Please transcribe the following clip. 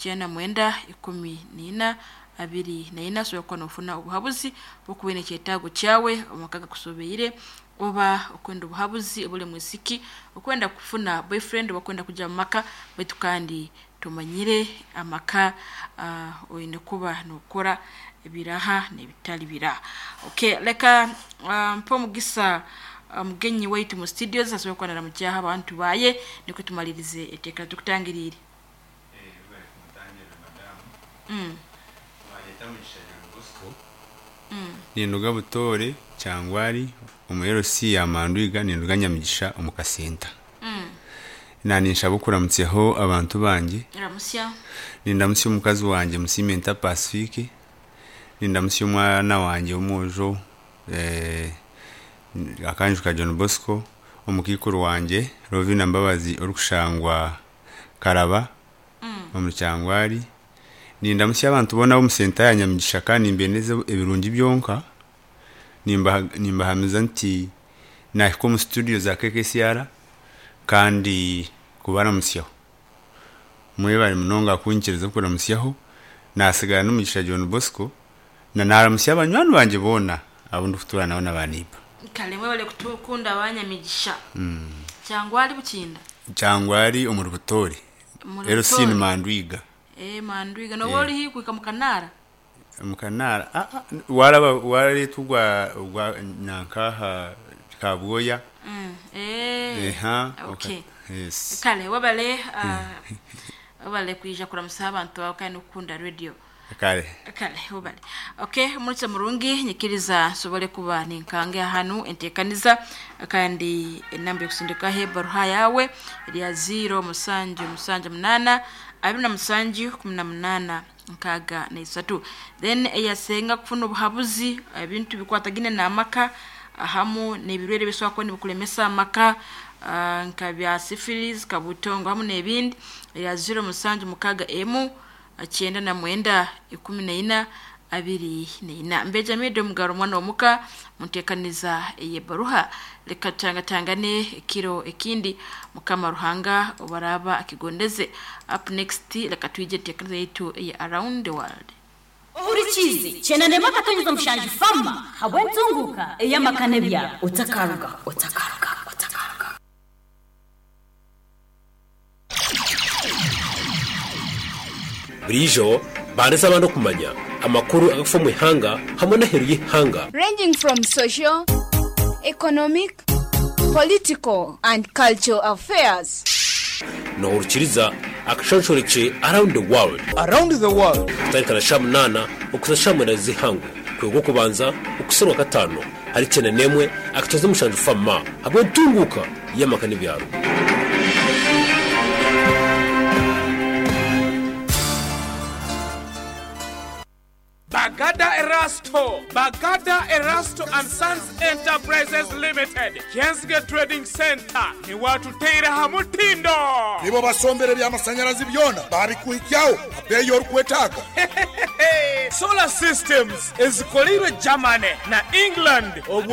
94 14 24 osobola kuba nofuna obuhabuzi bwokuba oine ekyetaago kyawe omu maka gakusobeire oba okwenda obuhabuzi oba ori mwisiki okwenda kufuna boyfriend oba okwenda kugya omu maka baitu kandi tomanyire amaka oine kuba nokora ebiraha n'ebitari biraha. Okay leka mpe omugisa omugenyi waitu mu studios asobole kuba naramukyaho abantu baye nikwo tumalirize eteeka tukutangiriire. Ninduga Butoore, Kyangwari omu LC ya Mandwiga ninduga Nyamigisha omu kasenta. Naninshaba okuramutsyaho abantu bangye. Ramutsya. Nindamutsya omukazi wangye Musiimenta Pacifique, nindamutsya omwana wangye w'omwojo Akanju ka John Bosco, omukaikuru wangye Lovina Mbabazi orikushangwa Karaba omuri Kyangwari. Nindamutsya abantu boona ab'omu senta ya Nyamigisha kandi nimbendeza ebirungi byonka. Nimbahamiza nti naahika omu situdiyo za KKCR kandi kubaramutsyaho. Mwebare munonga kunyikiriza okuramutsyaho. Naatsigara n'omugisha John Bosco na naaramutsya banywani bangye boona abu ndikutuura nabo na baaneiba. Kare mwebare kutukunda abanyamigisha. Kyangwari Bukinda? Kyangwari omuri Butoore. Omuri LC ni Butoore. Mandwiga. Ee Mandwiga. Nooba ori haihi kuhika Mukanaara? Mukanaara, aa waaraba waareetwa ogwa ogwa nanka aha Kabwoya. Ee. Eha. Okay. Yes. Kare webale webale kwija kuramusa abantu baawe kandi n'okukunda radio. Kare. Kare webale. Okay, omurisa murungi nyikiriza nsobole kuba ninkanga hanu enteekaniza kandi enamba y'okusindikaho ebaruha yaawe erya 0 mushanju mushanju munaana 27 18 63. Then eyasenga kufuna obuhabuzi ebintu bikwatagaine n'amaka hamu n'ebirwaire ebisobora kuba nibikulemesa amaka nka bya syphilis, kabutongo hamu n'ebindi erya 0 mushanju mukaaga emu 99 14 24. Mbeja Media Omugaro omwana w'omuka munteekaniza ey'ebaruha. Leka tutangatangane ekiro ekindi Mukama Ruhanga obu araaba akigondeze. Up next leka twije enteekaniza yaitu eya Around the World. Ohurikiize Kyenanemu akatonyeza omushanju Fama habw'entunguuka ey'amaka n'ebyaro. Otakarugaho, otakarugaho, otakarugaho. Buriijo baandiza abandi okumanya amakuru agakufa omu ihanga hamwe n'aheeru y'eihanga. Ranging from social, economic, political and cultural affairs. Noohurikiriza akashonshorekye Around the World. Around the World. Kutandika na shaaha munaana okuhitsya shaaha mwenda z'eihangwe, kwega Orwokubanza okuhitsya Orwakataano ahari kyenda n'emwe akatoza omushanju FAMA ahabw'entunguuka y'amaka n'ebyaro. Bagada Erasto, Bagada Erasto and Sons Enterprises Limited, Kyenzige Trading Centre niwe atuteire aha mutindo. Nibo basombera eby'amasannyalazi byona baabikuhikyaho ha bbeeyi y'orikwetaaga. Solar systems ezikoleirwe Germany na England obwo.